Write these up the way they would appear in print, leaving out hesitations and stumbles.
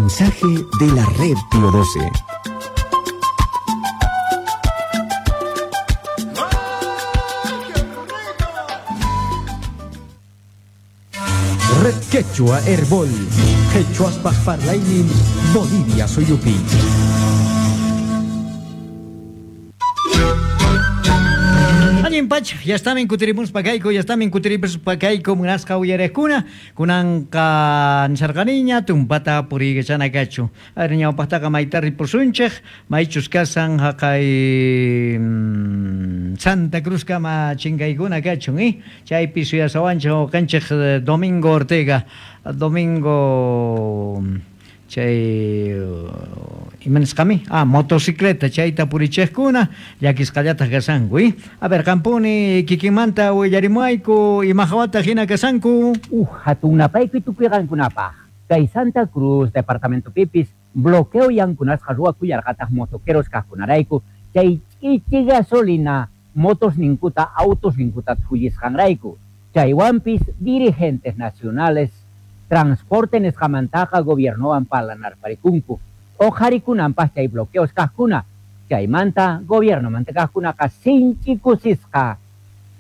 Mensaje de la red Pío 12. Red Quechua Herbol, Quechuaspa Parlaynin, Bolivia Suyupi. Allin pacha, ya estamos kutirimuspa kayku, ya estamos kutirimuspa kayku munasqa uyariqkuna, kunanqa nisharqaniña tumpata puriykachana kachu. A ver, ñawpaqtaqa mayta ripusunchik, maychus kasan haqay Santa Cruz kama chinkaykuna kachun, chaypi suyasawanchik wawqinchik Domingo Ortega, Domingo chay ima nisqami? Ah, motocicleta chayta purichiqkuna llakisqallataq kasanku, A ver, qampuni kikinmanta willarimuayku ima hawata hina kasanku. Hatunapayku tukuyqankunapaq. Kay Santa Cruz departamento pipis bloqueo yankunasqa ruwakuyarqataq motoqueros kaqkunarayku chay ch'ichi gasolina motos ninkuta autos ninkuta thullisqanrayku. Chaywanpis dirigentes nacionales transporte nisqamantaqa gobiernowan parlanarparikunku. Uqharikunanpaq chay bloqueos kaqkuna. Chaymanta gobiernomanta kaqkunaqa sinchi kusisqa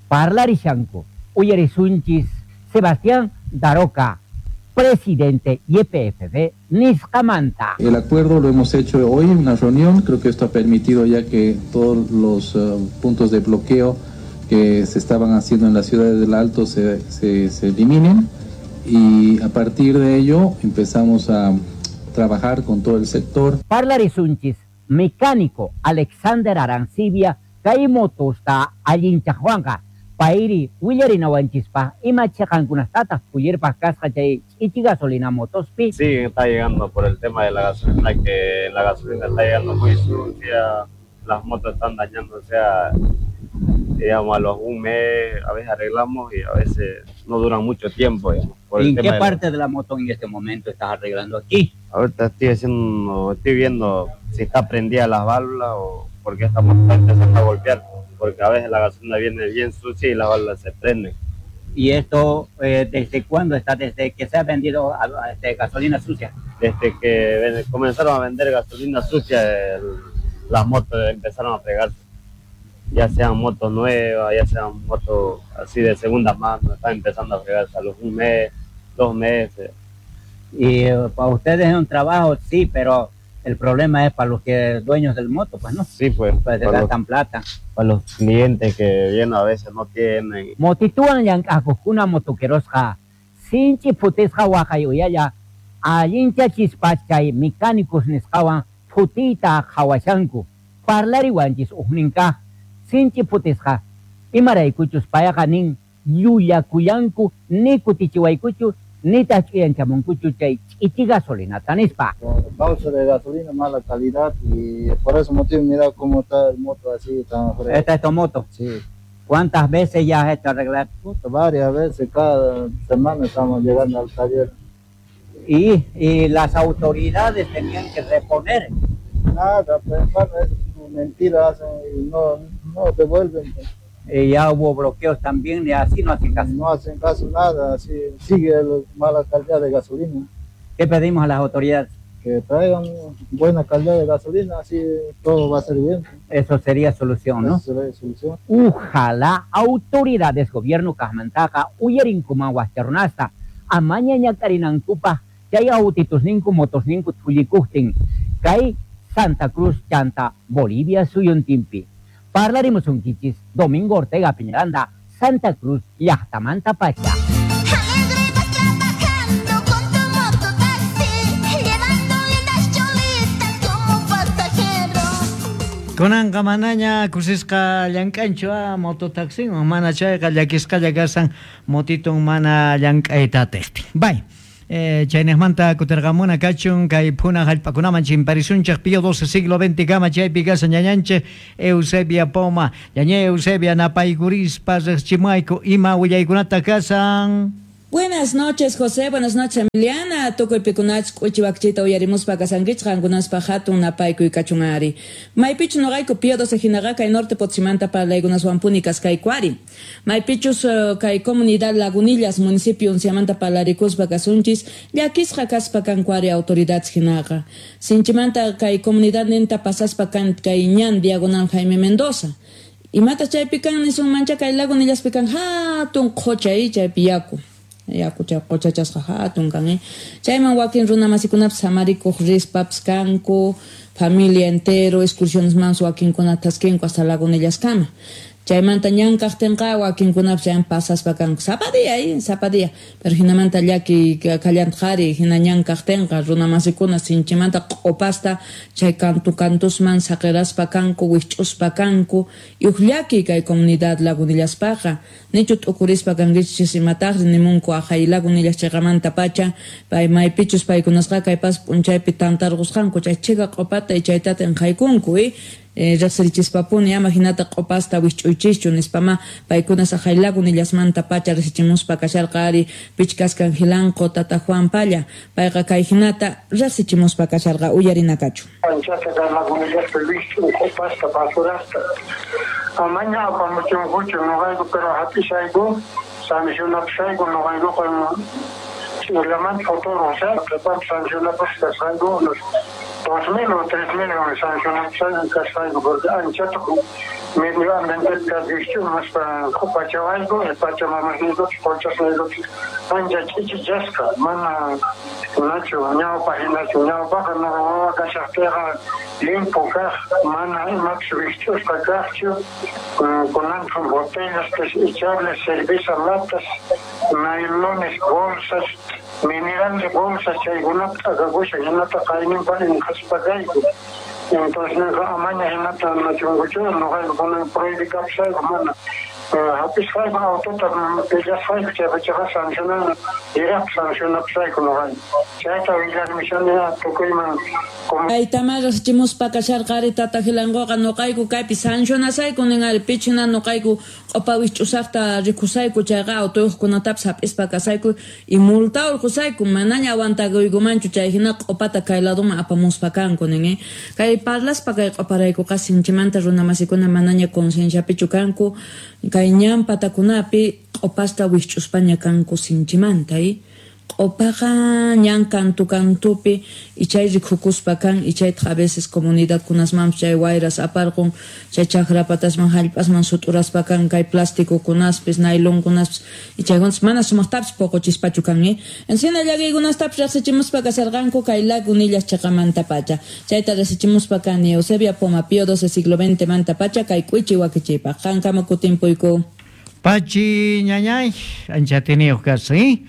parlarishanku. Uyarisunchis Sebastián Daroca, presidente YPFB nisqamanta. El acuerdo lo hemos hecho hoy en una reunión, creo que esto ha permitido ya que todos los puntos de bloqueo que se estaban haciendo en las ciudades del Alto se eliminen, y a partir de ello empezamos a trabajar con todo el sector. Parlarisunchis, mecánico Alexander Arancibia, kay motosta allinchaqwanqa, payri willarinawanchispa ima chiqankunastataq puyirpaq kasqa chay ch'ichi gasolina motospi. Sí, está llegando por el tema de la gasolina, que la gasolina está llegando muy sucia, las motos están dañando, o sea, digamos, a los un mes a veces arreglamos y a veces no duran mucho tiempo, digamos, por el ¿En qué tema de la parte de la moto en este momento estás arreglando aquí? Ahorita estoy viendo si está prendida las válvulas o porque esta moto está empezando a golpear, porque a veces la gasolina viene bien sucia y las válvulas se prenden. ¿Y esto desde cuándo está? ¿Desde que se ha vendido gasolina sucia? Desde que comenzaron a vender gasolina sucia, las motos empezaron a fregarse. Ya sean motos nuevas, ya sean motos así de segunda mano, están empezando a fregarse a los un mes, 2 meses. Y para ustedes es un trabajo, sí, pero el problema es para los que dueños del moto, pues, ¿no? Sí, pues, Pues se gastan plata. Para los clientes que vienen a veces no tienen. Motituan llank'aqkuna motoquerosqa, sinchi phutisqa waqay uyalla, allincha chispachay mecánicos nisqawan phutiyta qhawashanku. Parlariwanchis ujninkaq sinchi phutisqa, imaraykuchus payqa nin llullakuyanku, ni kutichiwaykuchu, nitaq ch'uyanchamunkuchu chay ch'ichi gasolinata nispa. Por causa de gasolina, mala calidad, y por ese motivo mira cómo está el moto así tan fresco. ¿Esta es tu moto? Sí. ¿Cuántas veces ya has hecho arreglar? Puta, varias veces, cada semana estamos llegando al taller. Y las autoridades tenían que reponer. Nada, pues bueno, es mentira, hacen y no devuelven. Pues. Ya hubo bloqueos también, y así no hacen caso. No hacen caso nada, así sigue la mala calidad de gasolina. ¿Qué pedimos a las autoridades? Que traigan buena calidad de gasolina, así todo va a ser bien. Eso sería solución, ¿no? Eso sería solución. Ojalá autoridades, gobierno kajmantaqa, uyarinkuman waqcharunasta, amaña ñak'arinankupaq, chay autitusninku, motosninku thullikuqtin, kay Santa Cruz chanta Bolivia suyuntinpi. Parlarimusunkichis Domingo Ortega Piñaranda, Santa Cruz llaqtamanta pacha. Kunanqa manaña kusisqa llank'anchu mototaxiwan, mana chayqa llakisqalla kasan motitun mana llank'ayta atiqtin. Bay. Chaynejmanta kutirqamuna kachun kay phuna hallp'akunaman chimparisunchik Pío XII siglo XX kama chaypi kasan ñañanchik Eusebia Poma. Ñaña Eusebia napaykurispa riqchimuayku ima willaykunata kasan. Buenas noches, José. Buenas noches, Emiliana. Tukuy pikunach k'uchi uyarimuspa kasankichik qankunaspa hatun napaykuy kachun ari. Maypichu noqayku Pío 12 hinaqa kay norte Potosímanta parlaykunaswanpuni kaskayku ari. Maypichus kay comunidad Lagunillas municipio unsiamanta parlarikuspa kasunchis llakisqa kaspa kanku ari autoridades hinaqa. Sinchimanta kay comunidad ninta pasaspa kan kay ñan diagonal Jaime Mendoza. Imata chaypi kan nisunmancha kay Lagunillaspi kan hatun qhucha chaypi yaku. Yaku chay quchachasqa hatun kan chayman wakin runa masikunapas samarikuq rispapas kanku familia entero excursionesman wakinkuna taskinku hasta Lagunillas-kama. Chaymanta ñan kaqtinqa wakinkunapas chayan pasaspa kanku sapa día sapa día pero hinamanta llaki kallantaqari hina ñan kaqtinqa runa masikuna sinchimanta q'upasta chay kantu kantusman saqiraspa kanku wikch'uspa kanku y llaki kay comunidad Lagunillaspaqa nichu t'ukurispa kankichis imataqri nimunku aqhay Lagunillas chayqamanta pacha pay maypichus paykunasqa kay pas p'unchaypi tantarqusqanku chay chika q'upata y chaytata inqaykunku riqsirichispapuni ama hinata q'upasta wikch'uychischu nispama paykuna saqhay Lagunillasmanta pacha riqsichimuspa kasharqa ari pichkaskan Jilanqo tata Juan Palla payqa kay hinata riqsichimuspa kasharqa uyarinakachu. Anchata kay Lagunillaspi wikch'un q'upasta basurasta amaña apamuchunkuchu noqayku pero hap'ishayku sancionapishayku noqaykuqa ch'irlamanta fotorun qhipanpi sancionapas kasqayku unos 2000 o 3000 sancionapishayku kasqayku porque anchata medio ambiente wikch'umuspa q'upachawayku pachamamaqniykupis quchasniykupis ancha ch'ichichasqa mana nachu ñawpa hinachu ñawpaqa nuqa wawa kashaqtiyqa limpu kaq mana imapis wikch'usqa kaqchu kunanqa botellas desechables cerveza latas nailones bolsas minerales bolsas chaykunata t'akakushan hinata qayninpa inqaspa kayku. Entonces amaña hinata nachunkuchu nuqayku kunan prohibikapusayku mana hap'isqayku autota pillasqayku chaypachaqa sancionan iraq sancionapusayku nuqayku chayta willarmishani tukuyman. Kaytama riqsichimuspa kasharqa ari tata Jilanquqa nuqayku kaypi sancionasayku nin ari pichina nuqayku q'upa wikch'usaqta rikusayku chayqa autoyuqkunatapis hap'ispa kasayku y multa urqusayku manaña aguantakuykumanchu chay hina q'upata kay laduman apamuspa kanku nin kay parlaspa kay q'uparaykuqa sinchimanta runa masikuna manaña concienciapichu kanku kay ñan patakunapi q'upasta wikch'uspaña kanku sinchimanta q'upaqa ñan kantu kantupi y chay rikukuspa kan y chaytaq a veces comunidad kunasmanpis chay wayras aparqun chay chakrapatasman hallp'asman sut'uraspa kan kay plástico kunaspis nailon kunaspis y chaykunas mana sumaqtapis puquchispachu kan encina llakiykunastapis riqsichimuspa kasharqanku kay Lagunillas chaqamanta pacha chayta riqsichimuspa kani Eusebia Poma Pío 12 siglo XX manta pacha kay k'uichi wakichiypaq qankama kutimpuyku. Pachi ñañay anchatiniyuq kasi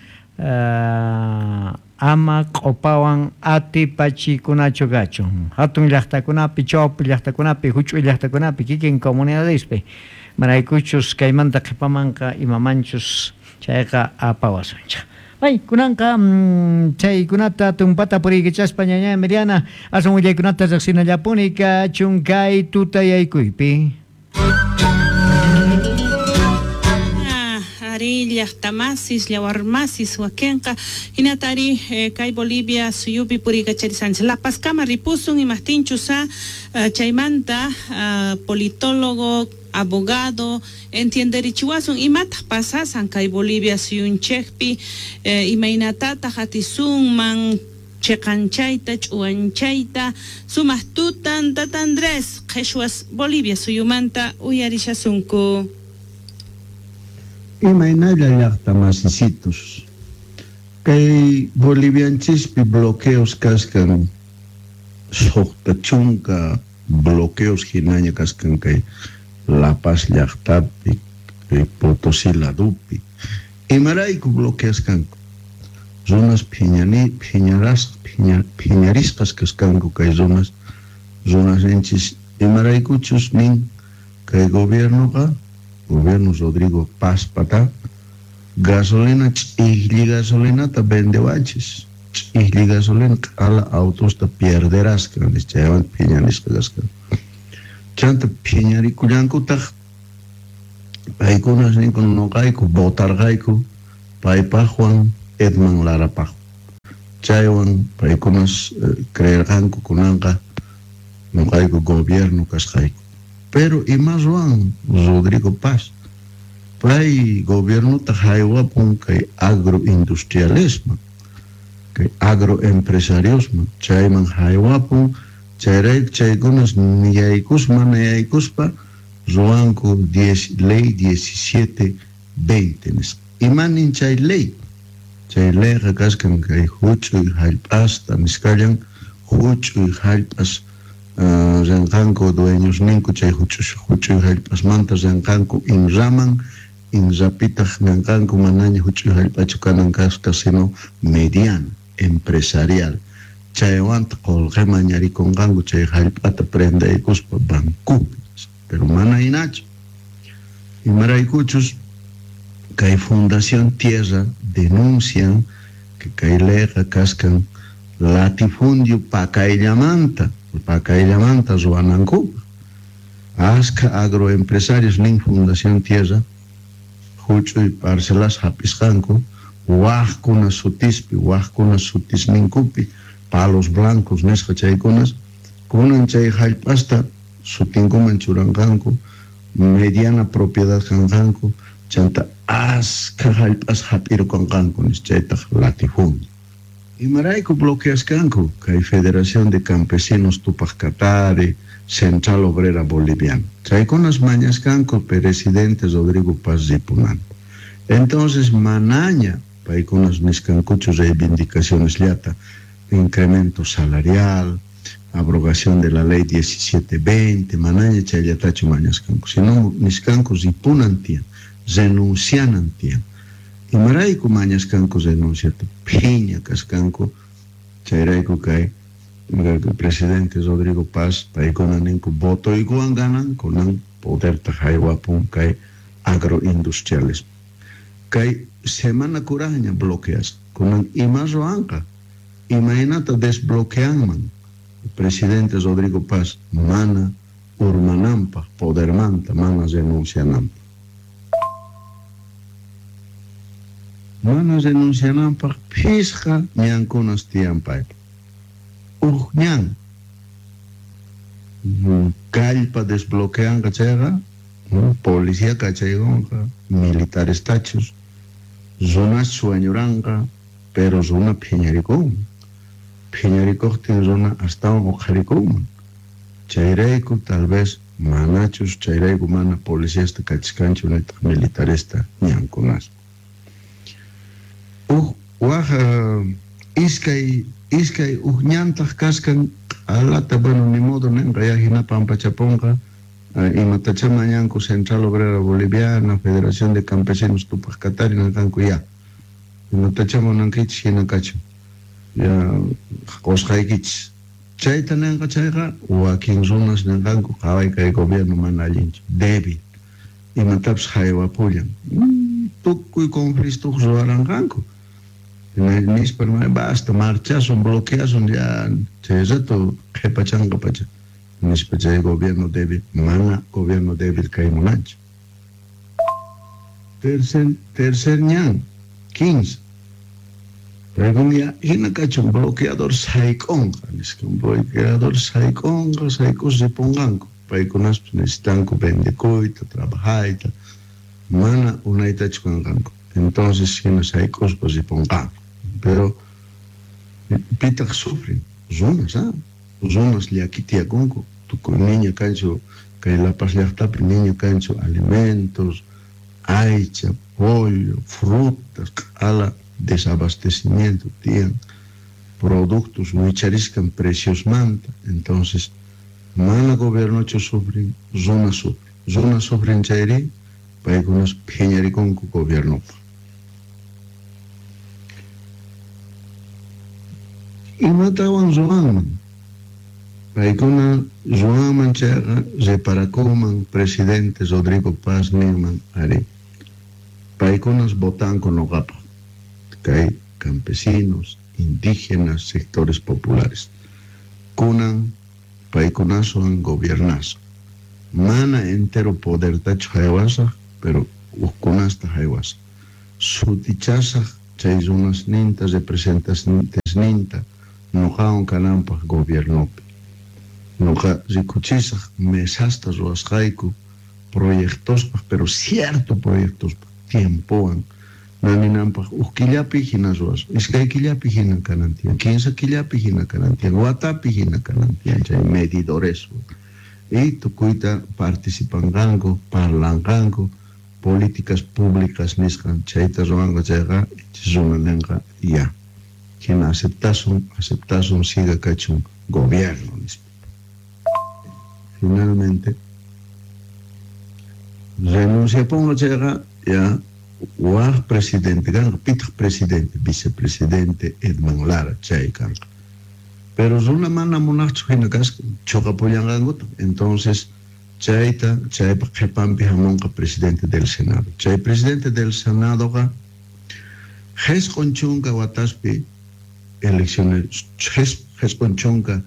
ama q'upawan atipachikunachu kachun hatun llaqtakunapi chawpi llaqtakunapi huch'uy llaqtakunapi kikin comunidadespi maraykuchus kaymanta qhipamanqa imamanchus chayqa apawasunchik. Ay, kunanqa chaykunata tumpata puriykachaspa ñañay Miriana aswan willaykunata riqsinallapuni kachun kay tutayaykuypi. Llaqtamasis llawarmasis wakinqa hinatari kay Bolivia suyupi puriykacharisqanchik La Pazkama ripusun imaqtinchus chaymanta politólogo abogado entienderichiwasun imataq pasasan kay Bolivia suyunchikpi imaynatataq atisunman chiqanchayta ch'uwanchayta sumaq tutan tata Andrés qhichwas Bolivia suyumanta uyarishasunku. Imaynalla llaqta masisitos kay bolivianchispi bloqueos kaskan suqta chunka bloqueos hinaña kaskan kay La Paz llaqtapi kay Potosí ladupi imarayku bloqueaskanku runas phiñarisqas kaskanku kay runas runasninchis imaraykuchus nin kay gobiernoqa gobierno Rodrigo Paz pata gasolina ch'ijlli gasolinata vendewanchis ch'ijlli gasolina q'ala autosta pierderasqa chaywan phiñarisqa kasqa chanta phiñarikullankutaq paykunas ninku nuqayku votarqayku Paypaqwan Edman Larapaq. Chaywan paykunas creerqanku kunanqa nuqayku gobierno kasqayku. Pero ima ruwan Rodrigo Paz? Pay gobiernota haywapun kay agroindustrialisman, kay agroempresariosman, chayman haywapun, chayrayku chaykunas niyaykuspa mana yaykuspa ruwanku ley 1720 nisqa. Imanin chay ley? Chay leyqa kaskan kay huch'uy hallp'asta nisqallan, huch'uy hallp'as rinqanku dueñosninku chay huch'uy hallp'asmanta rinqanku INRAman, INRApitaq ninqanku manaña huch'uy hallp'achu kanan kasqa, sino mediana, empresarial. Chaywantaq qullqi mañarikunqanku chay hallp'ata prendaykuspa bancopi. Pero mana hinachu. Imaraykuchus kay Fundación Tierra denuncian que kay leyqa kaskan latifundio pakayllamanta ruwanankupaq. Askha agroempresarios nin Fundación Tierra huch'uy parcelas hap'isqanku waqkuna sutispi, waqkuna sutisninkupi, palos blancos nisqa chaykunas, kunan chay hallp'asta sutinkuman churanqanku, mediana propiedad kanqanku, chanta askha hallp'as hap'irukunqanku nisqa, chaytaq latifundio. Imarayku bloqueaskanku kay Federación de Campesinos Tupac Katari, Central Obrera Boliviana. Chaykunas mañaskanku presidente Rodrigo Paz ripunanta. Entonces manaña paykunas niskankuchu reivindicaciones llata, incremento salarial, abrogación de la ley 1720, manaña chayllatachu mañaskanku, sino niskanku ripunan tiyan, renuncianan tiyan. Imarayku mañaskanku renunciata, phiña kaskanku, chayrayku kay presidente Rodrigo Paz, paykuna ninku votoykuwan ganan, kunan poderta haywapun kay agroindustriales. Kay semana kuraqña bloqueas, kunan ima ruwanqa, imaynata desbloqueanman presidente Rodrigo Paz mana urmananpaq, podermanta, mana renunciananpaq. Mana renunciananpaq phisqa ñankunas tiyan paypa. Uj ñan kallpa desbloqueanqa chayqa, policía kachaykunqa, militares tachus, runas sueñuranqa, pero runa phiñarikunman. Phiñarikuqtin runa astawan uqharikunman. Chayrayku tal vez manachus, chayrayku mana policiasta kachiskanchu nitaq militaresta ñankunas. Uj waj iskay uj ñantaq kaskan q'alata, bueno, ni modo ninqa ya hina pampachapunqa, imatacha mañanku Central Obrera Boliviana, Federación de Campesinos Tupac Katari ninqanku ya. Imatacha munankichis hina kachun. Ya qusqaykichis. Chayta ninqa chayqa wakin runas ninqanku qhaway kay gobierno mana allinchu, débil. Imatapis haywapullan. Tukuy conflicto ruwaranqanku. Nispa basta, marchasun, bloqueasun ya chay rato qhipachanqa pacha. Nispa chay gobierno débil, mana gobierno débil kay munanchu. Tercer ñan, 15. Pero ya hina kachun bloqueador sayk'unqa, nisqa bloqueador sayk'unqa, sayk'us ripunqanku. Paykunaspas necesitanku vendekuyta, trabajayta, mana unaytachu kanqanku. Entonces hina sayk'uspa ripunqanku. Pero pitaq sufren, runas, runas llakitiyakunku. Tukuy niña kanchu, kay La Paz llaqtapi niña kanchu alimentos, aycha, pollo, frutas, q'ala desabastecimiento tiyan, productos wichariskan preciosmanta. Entonces mana gobiernochu sufren, runa sufren. Runa sufren chayri, paykunas phiñarikunku gobiernopaq. Imatawan ruwanman? Paykuna ruwanman chayqa reparakunman presidente Rodrigo Paz ninman, ari, paykunas votanku noqapaq, kay campesinos, indígenas, sectores populares. Kunan paykunaswan gobiernasun. Mana entero podertachu haywasaq, pero hukkunasta haywasaq. Sutichasaq chay runasninta representantesninta noqawan kananpaq gobiernopi. Noqa rikuchisaq mesasta ruwasqayku proyectospaq, pero cierto proyectospaq tiempowan naninanpaq huk killapi hina ruwasun, iskay killapi hina kanan tiyan, 15 killapi hina kanan tiyan, watapi hina kanan tiyan chay medidoreswan. Y tukuyta participanqanku, parlanqanku, políticas públicas nisqan chayta ruwanqa chayqa runa ninqa ya. Hina aceptasun, aceptasun siga kachun gobierno nispa. Finalmente renunciapunqa chayqa ya waq presidente kanqa, pitaq presidente, vicepresidente Edmond Lara chay kanqa. Pero runa mana munaqchu hina kasqa chuqapullanqankuta. Entonces chayta chaypaq qhipanpi hamunqa presidente del Senado. Chay presidente del Senadoqa 90 wataspi elecciones 90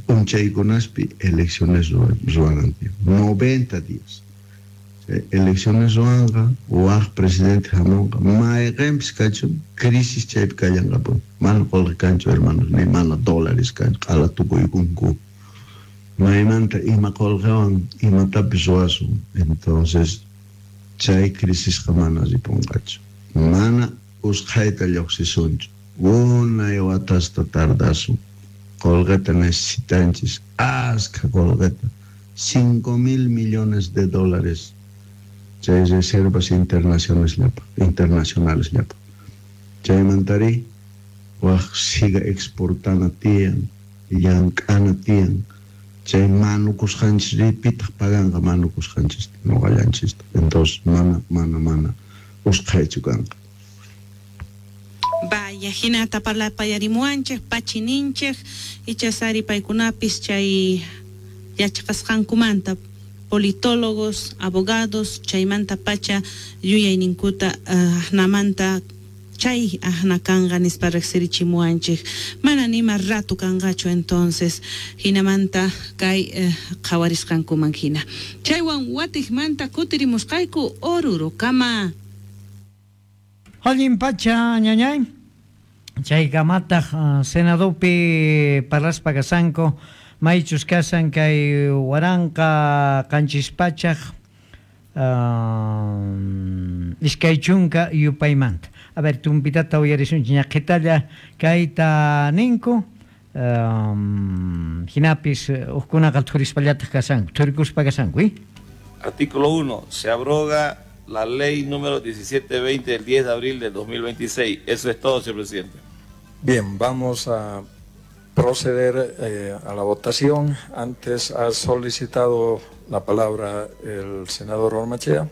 p'unchaykunaspi elecciones ruwanan tiyan, 90 días. Chay elecciones ruwanqa waq presidente hamunqa mayqinpis kachun crisis chaypi kallanqapuni. Mana qullqi kanchu hermanos, ni mana dólares kanchu, q'ala tukuykunku. Maymanta ima qullqiwan imatapis ruwasun. Entonces chay crisisqa mana ripunqachu. Mana usqhayta lluqsisunchu. Unay watasta tardasun. Qullqita necesitanchis, askha qullqita, 5 mil millones de dólares chay reservas internacionales llapa, internacionales llapa. Chaymantari waq siga exportana tiyan, llank'ana tiyan. Chay manukusqanchis pitaq paganqa manukusqanchista, noqallanchista. Entonces mana, mana, mana usqhaychu kanqa. Vaya, hinata parlapayarimuwanchik, pachininchik, ichasari paykunapis chay yachaqasqankumanta politólogos, abogados, chaymanta pacha yuyayninkuta ahnamanta chay ahna kanqa nispa riqsirichimuwanchik. Mana nima rato kanqachu entonces hinamanta kay qhawarisqankuman hina. Chaywan watiqmanta kutirimusqayku Orurokama. Allin pacha ñañay. Chaykamataq Senadopi parlaspa kasanku maychus kasan kay 1720 yupaymanta. A ver, tumpitata uyarisunchik ñaqhitalla kayta ninku. Hinapis hukkunaqa thurispallataq kasanku, thurikuspa kasanku, ¿eh? Artículo 1. Se abroga la ley número 1720 del 10 de abril del 2026. Eso es todo, señor presidente. Bien, vamos a proceder a la votación. Antes ha solicitado la palabra el senador Ormachea.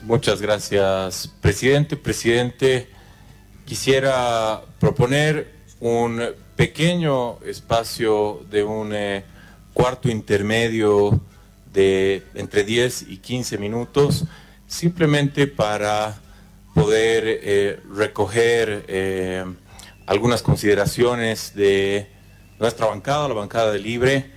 Muchas gracias, presidente. Presidente, quisiera proponer un pequeño espacio de un cuarto intermedio de entre 10 y 15 minutos, simplemente para poder recoger algunas consideraciones de nuestra bancada, la bancada de Libre.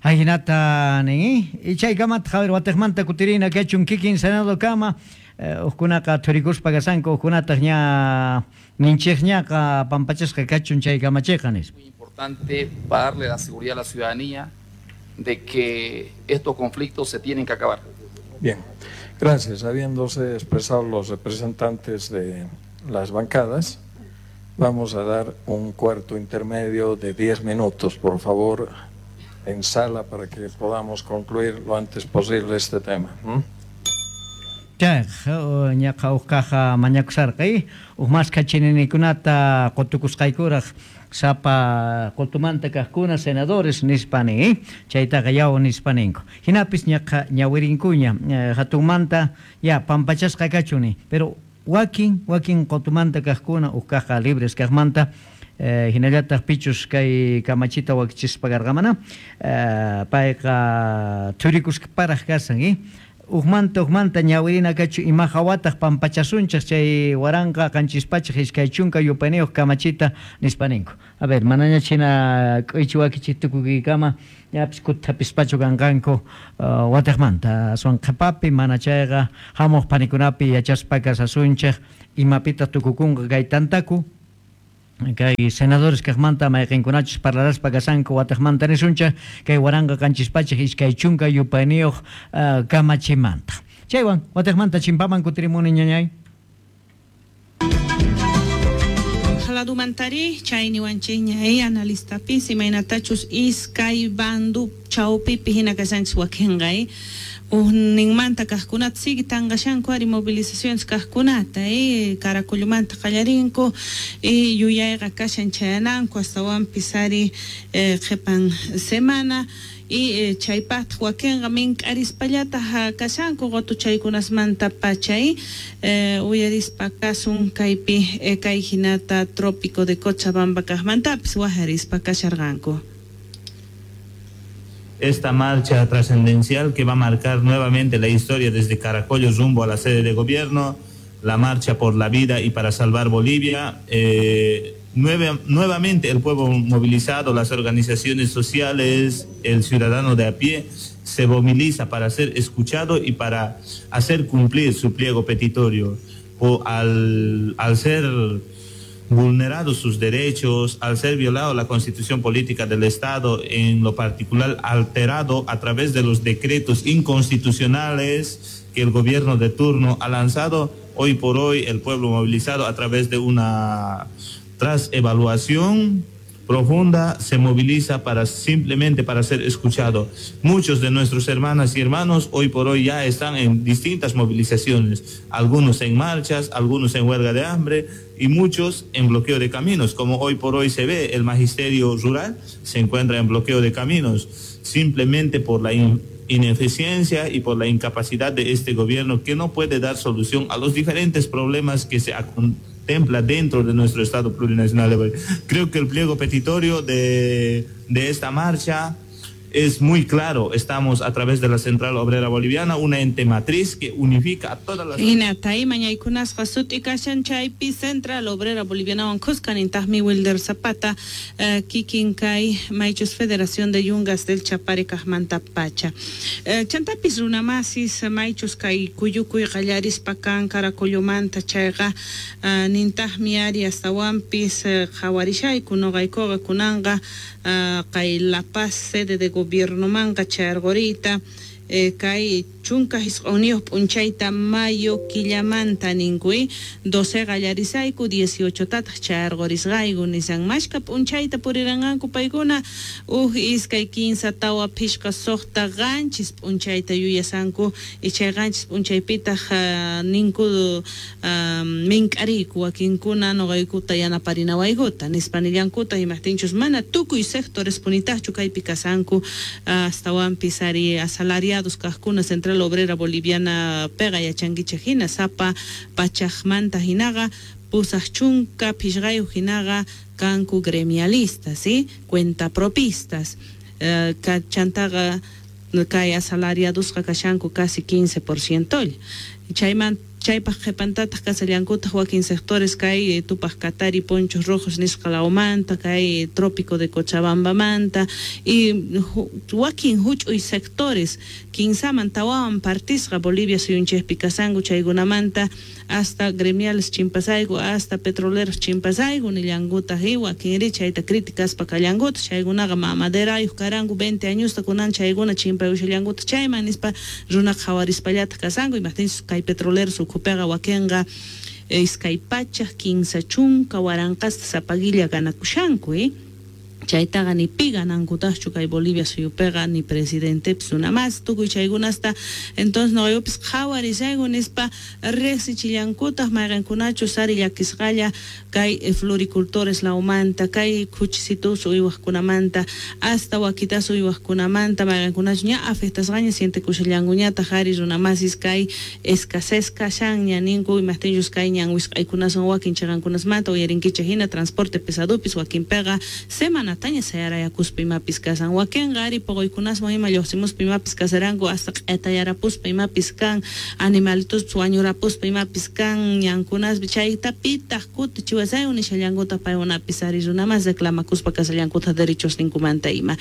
Ahinata nin, chaykamata Javier watiqmanta kutirina kachun kikin Senado kama, hukkunaqa thurikuspa kasanku, hukkunataq ña ninchikñaqa pampachasqa kachun chay kamachiqa nispa. Muy importante para darle la seguridad a la ciudadanía de que estos conflictos se tienen que acabar. Bien, gracias. Habiéndose expresado los representantes de las bancadas, vamos a dar un cuarto intermedio de 10 minutos, por favor, en sala para que podamos concluir lo antes posible este tema. Chay ñaqa huk caja mañakusarqa huk maskha chininikunata qutukusqaykuraq sapa qutumanta kaqkuna senadores nispa nin, chaytaqa yaw nispa ninku. Hinapis ñaqa ñawirinkuña hatunmanta ya pampachasqa kachun, pero wakin wakin qutumanta kaqkuna huk caja libres kaqmanta hinallataq pichus kay kamachita wakichispa karqamana payqa thurikusparaq kasan. Ujmanta ñawirina kachu ima hawataq pampachasunchik chay 1720 yupayniyuq kamachita nispa ninku. A ver, manaña china k'uychi wakichik tukuykama ñapis kuthapispachu kanqanku watiqmanta aswan qhipapi mana chayqa hamuq panikunapi yachaspa kasasunchik imapitaq tukukunqa kay tantaku kay senadores kaqmanta mayqinkunachus parlaraspa kasanku watiqmanta nisunchik kay 1720 yupayniyuq kamachimanta. Chaywan watiqmanta chimpaman kutirimuni ñañay. Ladumantari chay niwanchikña analistapis imaynatachus iskay bandu chawpipi hina kashanchis wakinqa ujninmanta kaqkunata sigue tanqashanku ari movilizaciones kaqkunata Caracollumanta qallarinku yuyayqa kashan chayananku astawanpis ari qhipan semana y chaypaqtaq wakinqa mink'arispallataq kashanku qutuchaykunasmanta pachay uyarispa kasun kaypi kay hinata trópico de Cochabamba kaqmantapis wajarispa kasharqanku. Esta marcha trascendencial que va a marcar nuevamente la historia desde Caracollo rumbo a la sede de gobierno, la marcha por la vida y para salvar Bolivia. Nuevamente el pueblo movilizado, las organizaciones sociales, el ciudadano de a pie se moviliza para ser escuchado y para hacer cumplir su pliego petitorio. O al ser vulnerados sus derechos, al ser violado la Constitución Política del Estado, en lo particular alterado a través de los decretos inconstitucionales que el gobierno de turno ha lanzado, hoy por hoy el pueblo movilizado a través de una tras evaluación profunda se moviliza para simplemente para ser escuchado. Muchos de nuestros hermanas y hermanos hoy por hoy ya están en distintas movilizaciones, algunos en marchas, algunos en huelga de hambre y muchos en bloqueo de caminos, como hoy por hoy se ve el magisterio rural se encuentra en bloqueo de caminos, simplemente por la ineficiencia y por la incapacidad de este gobierno que no puede dar solución a los diferentes problemas que se contempla dentro de nuestro Estado plurinacional. Creo que el pliego petitorio de esta marcha es muy claro. Estamos a través de la Central Obrera Boliviana, una ente matriz que unifica a todas las... Hinatay mañaykunasqa sut'i kashan chaypi Central Obrera Bolivianawan kuskanintaqmi Wilder Zapata kikin kay maychus Federación de Yungas del Chapare kaqmanta pacha. Chantapis runamasis maychus kay kuyukuy qallarispa kan Caracollomanta chayqa nintaqmi ari astawanpis qhawarishayku noqaykuqa kunanqa kay La Paz sede de gobierno manqa chayarquriyta kay 19 p'unchayta mayo killamanta ninkuy 12 qallarisayku 18 tataq chayarqurisqayku nisan mashka p'unchayta puriranqanku paykuna uj iskay 15 tawa phishqa suqta qanchis p'unchayta yuyasanku y chay qanchis p'unchaypitaq ninku mink'ariyku wakinkuna noqaykuta yanaparinawaykuta nispa nillankuta imaqtinchus mana tukuy sectores punitaqchu kaypi kasanku astawanpis ari asalariados kaqkuna Central Obrera Boliviana pega yachankichik hina sapa pachaqmanta hinaqa pusaq chunka phishqayuq hinaqa kanku gremialistas, ¿sí? Cuentapropistas chantaqa kay asalariadosqa kashanku casi 15% chayman chaypaq qhipantataq kasallankutaq wakin sectores kay Tupaq Katari Ponchos Rojos nisqa lawmanta kay Trópico de Cochabambamanta y wakin huch'uy sectores kinsaman tawawan partisqa Bolivia suyunchikpi kasanku chaykunamanta hasta gremiales chimpasayku hasta petroleros chimpasayku nillankutaq y wakinri chayta criticaspa kallankuta chaykunaqa mamaderayuq karanku 20 añosta kunan chaykuna chimpayushallankuta chayman nispa runa qhawarispallataq kasanku imaqtinchus kay petroleros ukhupiqa wakinqa iskay pachaq 15 waranqasta sapagilla ganakushanku chaytaqa ni pi ganankutaqchu kay Bolivia suyupiqa ni presidentepis runa mas tukuy chaykunasta entonces noqayupis qhawarisayku nispa riqsichillankutaq mayqinkunachus ari llakisqalla kay floricultores lawmanta kay khuchisitus uywaqkunamanta hasta wakitas uywaqkunamanta mayqinkunachus ña afectasqaña sientekushallankuñataq ari runa masis kay escasez kashanña ninku imaqtinchus kay ñan wisq'aykunasan wakin chaqankunasmanta uyarinkichik hina transporte pesadupis wakinpiqa semana Horaskunataña sayarayakuspa imapis kasan. Wakinqa ari poqoykunaswan ima lluqsimuspa imapis kasaranku hasta q'etayarapuspa imapis kan, animalituspas wañurapuspa imapis kan, ñankunaspi chayta pitaq kutichiwasayku nishallankutaq paykunapis ari runamas reclamakuspa kasallankutaq derechosninkumanta ima.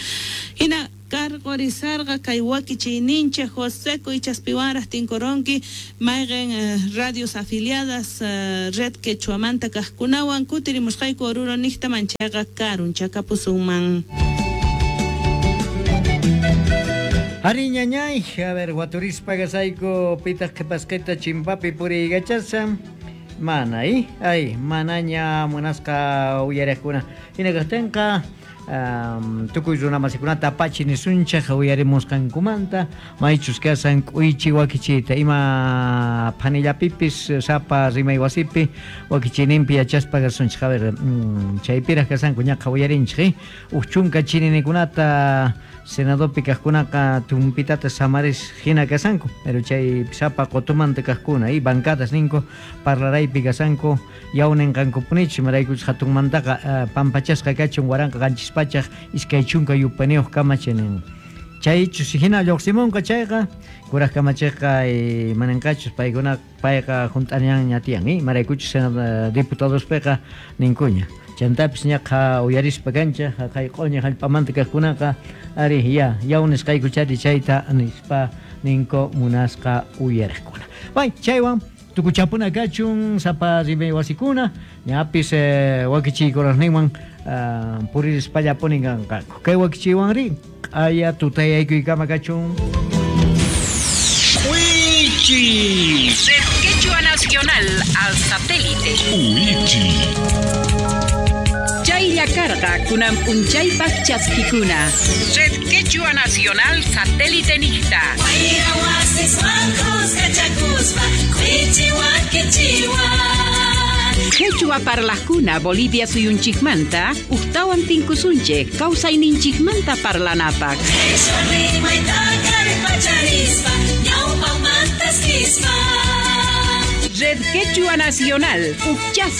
Hina karqurisarqa kay wakichiyninchik José Kuychaspiwanraq tinkuronki mayqin radios afiliadas Red Quechuamanta kaqkunawan kutirimusqayku Oruro niqta manchayqa karunchakapusunman. Ari ñañay, a ver, waturispa kasayku pitaq qhipasqita chimpapi puriykachashan. Mana, ay, manaña munasqa uyariqkuna. Hina kaqtinqa tukuy runamasikunata apachi nisunchik uyarimusqankumanta maychus kasan k'uychi wakichiyta ima phanillapipis sapa rimay wasipi wakichiyninpi yachaspa kasunchik. A ver, chaypiraq kasanku ñaqa uyarinchik, uj chunka chininikunata senadopi kaqkunaqa tumpitata samaris hina kasanku, pero chay sapa qutumanta kaqkuna y bancadas ninku parlaraypi kasanku yawninqankupunichu imaraykuchus hatunmantaqa pampachasqa kachun 1720 yupaniyuq kamachinin. Chaychus hina lluqsimunqa chayqa kuraq kamachiqqa mananqachus paykuna payqa hunt'añanña tiyan, imaraykuchus diputadospiqa ninkuña. Chantapis ñaqa uyarispa kancha haqay q'uñi hallp'amanta kaqkunaqa ari ya yawnisqaykuchari chayta nispa ninko munasqa uyariqkuna. Bay chaywan tukuchapuna kachun sapa rimay wasikuna ñapis wakichiykunasninwan puririspallapuni kanqaku. Kay wakichiywanri q'aya tutayaykuykama kachun. Wichi. Red Quechua Nacional al satélite. Wichi. Chaylla karqa kunan p'unchaypaq chaskikuna. Red Quechua Nacional satélite niqta. Quechua parlaqkuna Bolivia suyunchikmanta uqtawan tinkusunchik kawsayninchikmanta parlanapaq. Red Quechua Nacional, ukchas